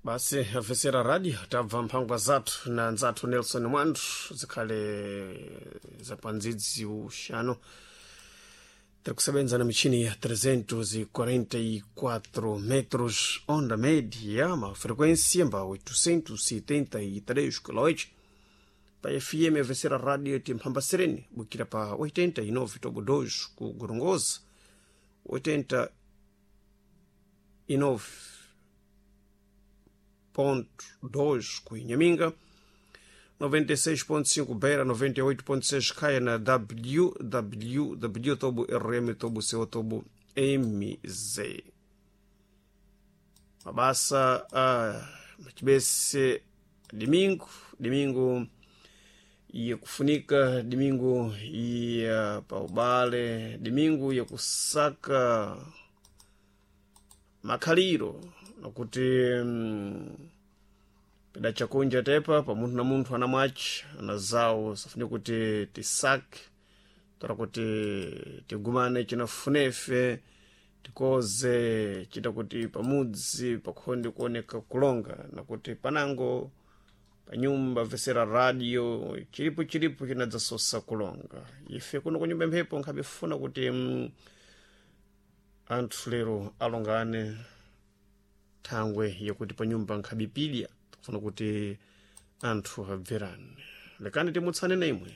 Basi afesera radio, tabva mphangwa zathu na nzathu Nelson Mwanthu, zikhale zapandzidzi uxano. Tiri kusebenza na michini ya 344 metros onda média, ma frequência mba 873 kHz pa FM. Avesera radio timphamba sereni bukira pa 89.2 ku Gorongosa, 89.2 ku Inhaminga, 96.5 Beira, 98.6 Caia, na www tobo rm tobo co tobo mz. Mabasa a machibese domingo, domingo yakufunika, domingo ya paubale, domingo yakusaka makhaliro, nakuti peda chakunja tepa pa munthu na munthu ana mwachi ana zawo, safune kuti tisake tora kuti tigumane chinafunefe, tikoze chita kuti pamudzi pakhonde kuoneka kulonga, nakuti panango panyumba vesera radio chilipo chilipo chinadzasosa kulonga. Ife kuno kunyumba mphepo nkhabe funa kuti anthu lero alongane, thangwe yakuti panyumba nkhabipidya, tikufuna kuti anthu abverane. Lekani timutsane na imwe.